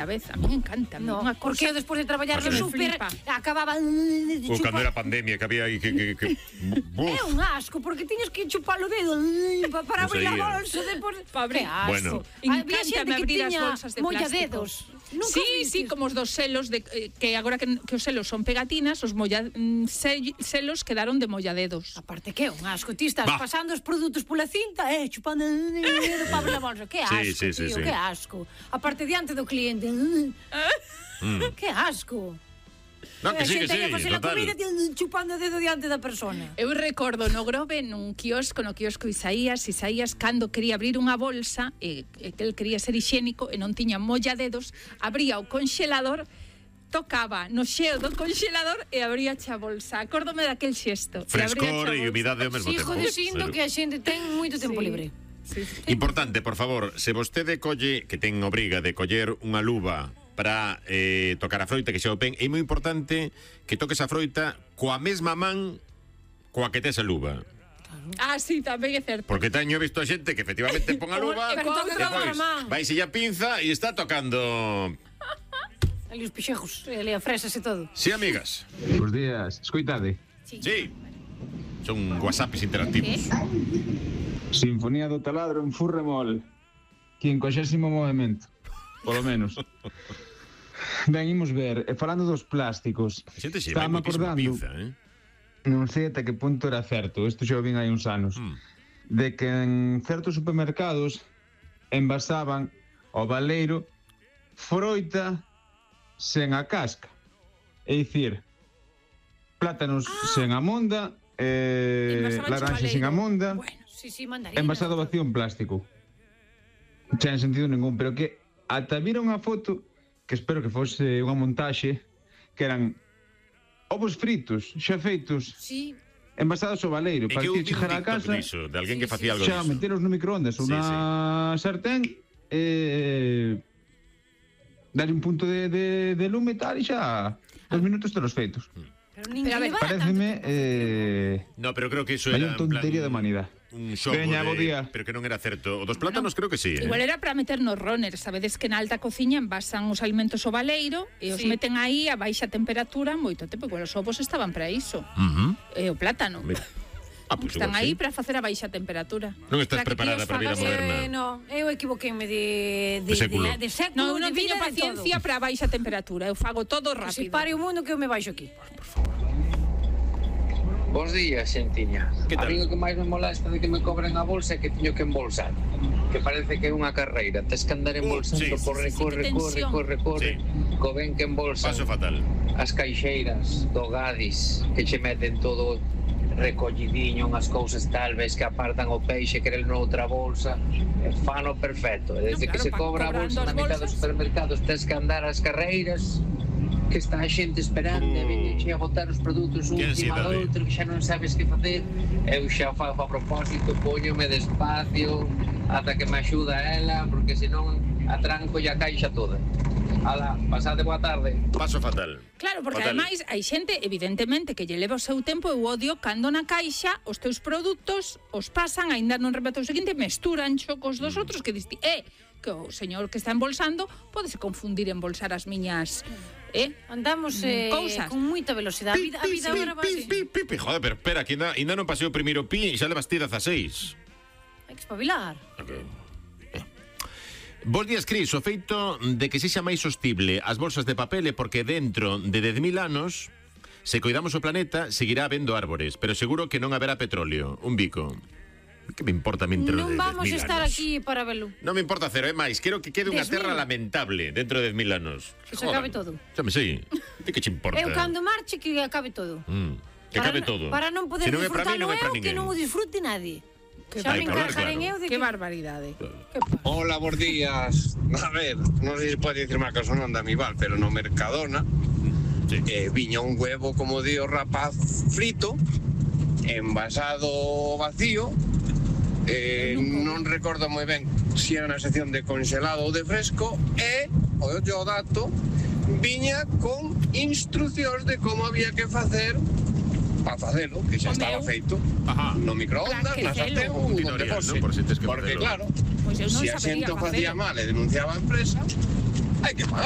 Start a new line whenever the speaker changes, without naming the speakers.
A vez, a mí me encanta.
No, porque eu despois de traballar no súper acababa...
Ou cando era pandemia, que había aí que...
É un asco, porque tiñes que chupar o dedo para abrir a bolsa depois... Que asco. Había xente que tiña molladedos.
Sí, como os dos selos, que agora que os selos son pegatinas, os selos quedaron de molladedos.
Aparte que é un asco, ti estás pasando os produtos pola cinta, chupando o dedo para abrir a bolsa. Que asco, tío, que asco. Aparte diante do cliente... Que asco.
No, que sí,
total. Chupando o dedo diante da persona.
Eu recordo no Grove, no quiosco Isaías cando quería abrir unha bolsa que el quería ser higiénico e non tiña molladedos, abría o conxelador, tocaba no xeo do conxelador e abría a bolsa. Acórdome daquel xesto.
Frescor e humidade ao mesmo tempo.
Fijo dicindo que a xente ten moito tempo libre.
Importante, por favor, se vostede colle, que ten obriga de coller unha luva para tocar a froita, que xa o pen, é moi importante que toques a froita coa mesma man coa que tes a luva.
Sí, tamén é certo.
Porque teño visto a xente que efectivamente pon a luva e depois vaise a pinza e está tocando
ali os pixejos, ali a fresas e todo.
Sí, amigas.
Bos días, escoitade.
Sí. Son whatsapps interactivos.
Sinfonía do taladro en Furremol. 50º movemento, polo menos. Ben, imos ver, falando dos plásticos, estaba acordando, non sei ata que punto era certo, isto xa o vin hai uns anos, de que en certos supermercados envasaban ao baleiro froita sen a casca. É dicir, plátanos sen a monda, laranxa sen a monda, envasado vacío en plástico. Xa en sentido ningún, pero que ata vira unha foto que espero que fose unha montaxe, que eran ovos fritos xa feitos, envasados ao baleiro, para que chegar a casa
de alguén que facía algo
xa meteros no microondas ou na sartén e darlle un punto de lume e tal, e xa 2 minutos telos feitos.
Pero a ver,
pareceme
no, pero creo que iso era
tontería de humanidade.
Un xogo pero que non era certo. O dos plátanos creo que sí.
Igual era para meter nos runners. Sabedes que na alta cociña envasan os alimentos ao baleiro e os meten aí a baixa temperatura moito tempo. Igual os ovos estaban para iso. E o plátano. Están aí para facer a baixa temperatura.
Non estás preparada para a vida moderna.
No, eu equivoqueime de
século.
No, eu non teño paciencia para a baixa temperatura. Eu fago todo rápido.
Se pare o mundo que eu me baixo aquí.
Por favor.
Bos días, xentiña. A mí o que máis me molesta de que me cobren a bolsa é que teño que embolsar. Que parece que é unha carreira. Tes que andar embolsando, corre. Co ben que embolsan.
Paso fatal.
As caixeiras do Gadis, que che meten todo recollidiño, unhas cousas tal vez que apartan o peixe, querelo noutra bolsa. Fano perfecto. Desde que se cobra a bolsa na mitad dos supermercados, tes que andar as carreiras, que está a xente esperando e venxe a botar os produtos un encima do outro, que xa non sabes que facer. Eu xa fago a propósito, póñome despacio ata que me axuda ela, porque senón atranco e a caixa toda. Ala, pasade boa tarde.
Paso fatal.
Claro, porque ademais hai xente, evidentemente, que lle leva o seu tempo. Eu odio cando na caixa os teus produtos os pasan, aínda non remata o seguinte, mesturan xocos dos outros, que diste, que o señor que está embolsando podese confundir embolsar as miñas
andamos con moita velocidade. A vida agora va así.
Joder, pero espera, que ainda non pasei o primeiro pi e xa levas ti 16.
Hai que espabilar.
Bos días, Cris. O feito de que sexa máis sostible as bolsas de papel é porque dentro de 10.000 anos, se coidamos o planeta, seguirá habendo árbores, pero seguro que non haberá petróleo. Un bico. Que me importa a mí entre
non vamos a estar aquí para velo.
Non me importa cero, é máis. Quero que quede unha terra lamentable dentro de 10.000 anos.
Que se acabe todo.
Xa me sei. De que che importa?
Eu cando marche que acabe todo.
Que acabe todo.
Para non poder disfrutarlo eu, que non o disfrute nadie. Xa me encargarén eu de que...
Que barbaridade.
Hola, bons días. A ver, non sei se pode dicir má cosa non da mi val, pero no Mercadona viña un huevo, como di o rapaz, frito, envasado vacío. Non recordo moi ben se era na sección de congelado ou de fresco, e o dato viña con instruccións de como había que facer para facelo, que xa estaba feito no microondas, na sartén ou onde fose, porque claro, se a xente o facía mal e denunciaba a empresa, hai que pagar.